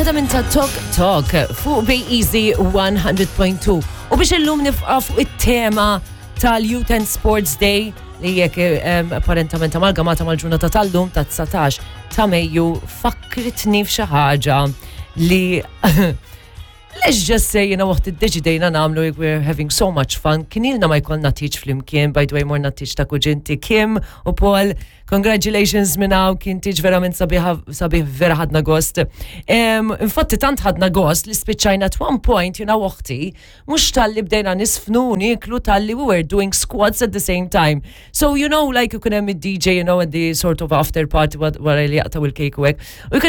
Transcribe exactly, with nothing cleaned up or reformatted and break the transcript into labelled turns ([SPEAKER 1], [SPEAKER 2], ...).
[SPEAKER 1] Waħda minn ta' Talk Talk fuq Bay Easy one hundred point two. U biex illum nibqa' fuq it-tema tal-Youth and Sports Day li jekk um, apparentament amalgamata mal-ġurnata tal-lum ta' dsatax ta' Mejju, fakkritni f'xi ħaġa li, let's just say, you know, waqt iddeċidejna nagħmlu, we're having so much fun. Kien ilna ma jkollna tieġ flimkien. By the way, morna tieġ ta' kuġinti Kim u Paul. Congratulations minn hawn, kien tieġ verament sabiħ, sabiħ, vera ħadna gost. Um, infatti tant ħadna gost li spiċċajna at one point, you know, uħti, mhux talli bdejna niżfnu, nieklu, talli we were doing squats at the same time. So, you know, like you hemm D J, you know, at the sort of after party wara li jaqtaw il-cake u hekk. U